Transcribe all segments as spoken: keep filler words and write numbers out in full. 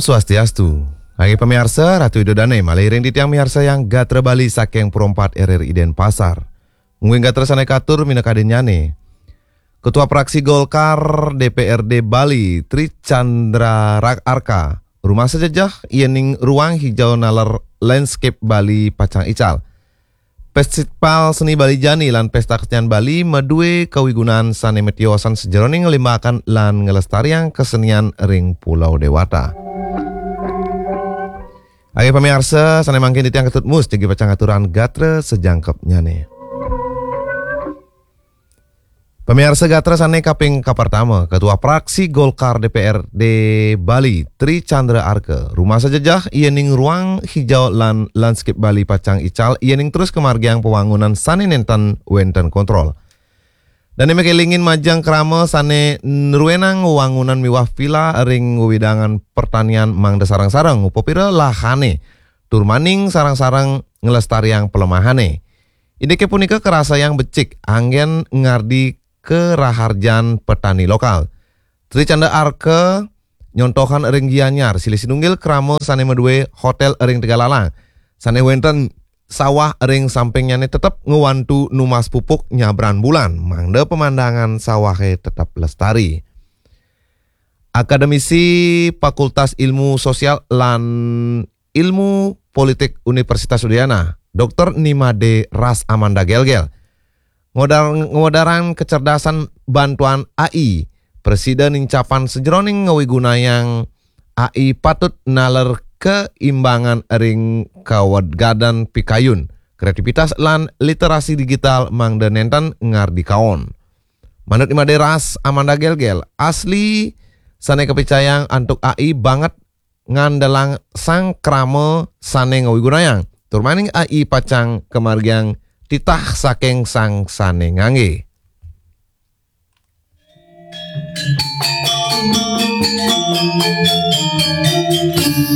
Swastiastu. Inggih pamiarsa, Ratu Ida Dane malih ring titiang miarsa yang gatra Bali saking Pro empat R R I Denpasar. Mungguing gatra sane katur minakadinnyane. Ketua Praksi Golkar D P R D Bali, Tri Chandra Ra-, Arka, rumasa jejeh yening ruang hijau naler landscape Bali pacang ical. Festival Seni Bali Jani lan Pesta Kesenian Bali madue kawigunan sane matiosan sajeroning nglimbakan lan nglestariang kesenian ring Pulau Dewata. Inggih pamiarsa, sane mangkin titiang Ketut Mus jagi pacang aturang gatra sajangkepnyane. Pamiarsa, gatra sane kaping kapertama, Ketua Praksi Golkar D P R D Bali, Tri Chandra Arka, rumasa jejeh yening ruang hijau lan landscape Bali pacang ical yening terus kamargiang pawangunan sane nenten wenten kontrol. Dane makelingin majeng krama sane nruenang wewangunan miwah vila ring wewidangan pertanian mangda sareng-sareng upapira lahane, tur maning sareng-sareng nglestariang pelemahane. Indike punika karasayang becik anggen ngardi karaharjan petani lokal. Tri Chandra Arka nyontohan ring Gianyar, silih sinunggil krama sane madue hotel ring Tegalalang, sane wenten sawah ring sampingnyane tetep ngwantu numbas pupuk nyabran bulan, mangda pemandangan sawahe tetep lestari. Akademisi Fakultas Ilmu Sosial lan Ilmu Politik Universitas Udayana, Doktor Nimade Ras Amanda Gelgel, ngodar-, ngodarang kecerdasan bantuan A I, prasida nincapan sajeroning ngawigunayang A I patut naler keimbangan ring kawegadan pikayun, kreativitas lan literasi digital mangda nenten ngardi kaon. Manut Nimade Ras Amanda Gelgel, asli sane kapicayang antuk A I banget ngandelang sang krama sane ngawigunayang. Tur maning A I pacang kamargiang titah saking sang sane ngangge.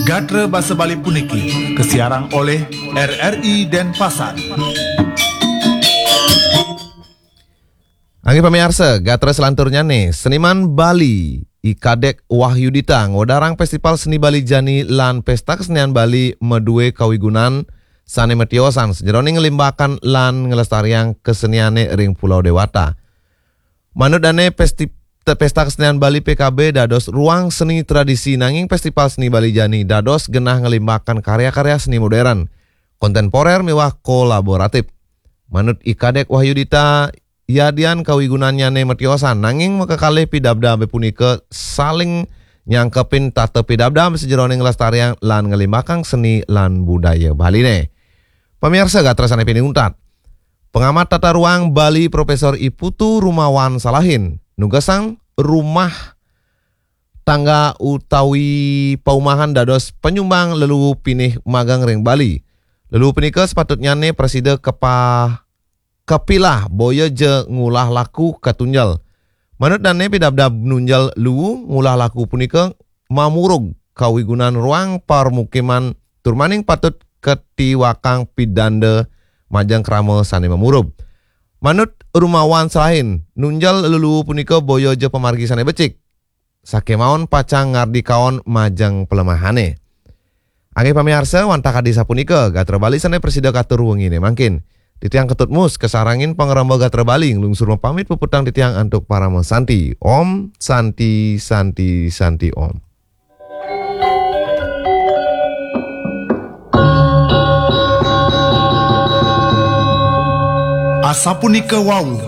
Gatra basa Bali puniki kasiarang olih R R I Denpasar. Inggih pamiarsa, gatra selanturnyane, seniman Bali, I Kadek Wahyudita, ngodarang Festival Seni Bali Jani lan Pesta Kesenian Bali madue kawigunan sane matiosan sajeroning nglimbakan lan nglestariang keseniane ring Pulau Dewata. Manut dane pesti-, te-, Pesta Kesenian Bali P K B dados ruang seni tradisi, nanging Festival Seni Bali Jani dados genah nglimbakan karya-karya seni modern, kontemporer miwah kolaboratif. Manut I Kadek Wahyudita, yadian kawigunannyane matiosan, nanging makakalih pidabdabe punika saling nyangkepin tata pidabdab sajeroning nglestariang lan nglimbakang seni lan budaya Baline. Pamiarsa, gatra sane pinih untat. Pengamat tata ruang Bali Profesor I Putu Rumawan Salahin nugesang rumah tangga utawi paumahan dados panyumbang leluhu pinih magang ring Bali. Leluhu punika sepatutnyane prasida kepa-, kepilah boya ja ngulah laku katunjel. Manut dane pidabdab nunjel luwu, ngulah laku punika mamurug kawigunan ruang parmukiman tur maning patut katiwakang pidanda majeng krama sane mamurub. Manut Rumawan Salahin, nunjel leluhu punika boya ja pamargi sane becik. Sakemaon pacang ngardi kaon majeng pelemahane. Inggih pamiarsa, wantah kadi sapunika gatra Bali sane prasida katur wengine mangkin. Titiang Ketut Mus kasarengin pangremba gatra Bali nglungsur mapamit puputang titiang antuk parama santi. Om Santi, Santi, Santi Om. Asapunika wau